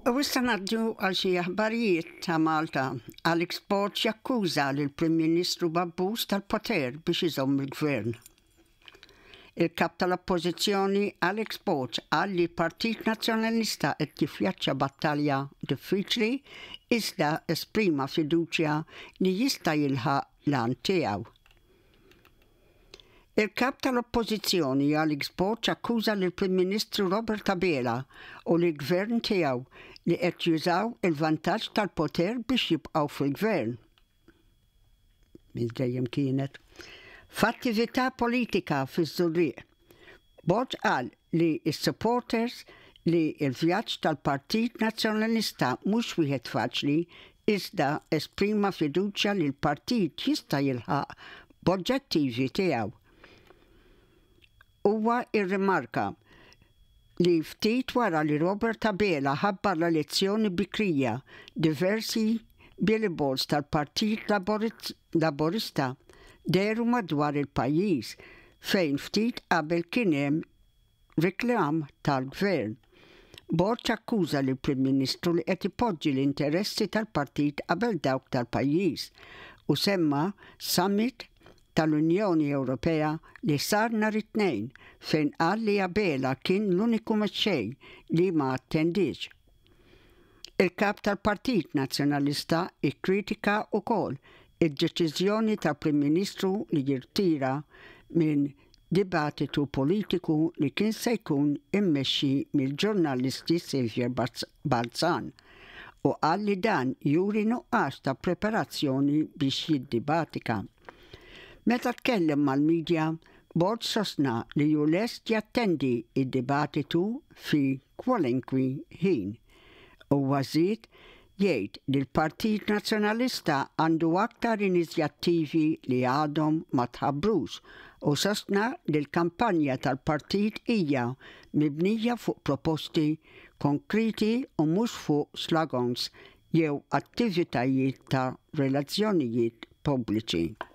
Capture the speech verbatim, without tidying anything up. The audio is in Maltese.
U issa ngħaddu għal xi aħbarijiet ta' Malta. Alex Borg jakkuża lill Prim Ministru b'abbuż tal-poter biex iżomm il-gvern. Il-kap tal-Oppożizzjoni Alex Borg qal li Partit Nazzjonalista qed jiffaċċja battalja diffiċli, iżda esprima fiduċja li jista' jilħaq l-għan tiegħu. Il-kap tal-Oppożizzjoni Alex Borg akkuża lill prim Ministru Robert Abela u l-gvern tiegħu li qed jużaw il-vantaġġ tal-poter biex jibqgħu fil-gvern. Minn dejjem kienet. F'attività politika fiż-Żurrieq. Borg qal li s-supporters li il-vjaġġ tal-Partit Nazzjonalista mhux wieħed faċli, iżda esprima fiduċja li l-partit jista' jilħaq l-oġġettivi tiegħu. Huwa irrimarka li ftit wara li Robert Abela ħabbar l-elezzjoni bikrija, diversi billboards tal-Partit Laburista dehru madwar il-pajjiż, fejn ftit qabel kien hemm reklam tal-gvern. Borg akkuża lill prim Ministru li qed ipoġġi l-interessi tal-partit qabel dawk tal-pajjiż u semma summit tal-Unjoni Ewropea li sar nhar it-Tnejn, fejn qal li Abela kien l-uniku mexxej li ma attendix. Il-kap tal-Partit Nazzjonalista ikkritika wkoll id-deċiżjoni tal-Prim Ministru li jirtira minn dibattitu politiku li kien se jkun immexxi mill-ġurnalist Saviour Balzan u qal li dan juri nuqqas ta' preparazzjoni biex jiddibatika. Meta tkellem mal-medja, Borg sostna li hu lest jattendi id-dibattitu fi kwalunkwe ħin. U żied jgħid li l-Partit Nazzjonalista għandu aktar inizjattivi li għadhom ma tħabbrux u sostna li l-kampanja tal-partit hija mibnija fuq proposti konkreti u mhux fuq slogans jew attivitajiet ta' relazzjonijiet pubbliċi.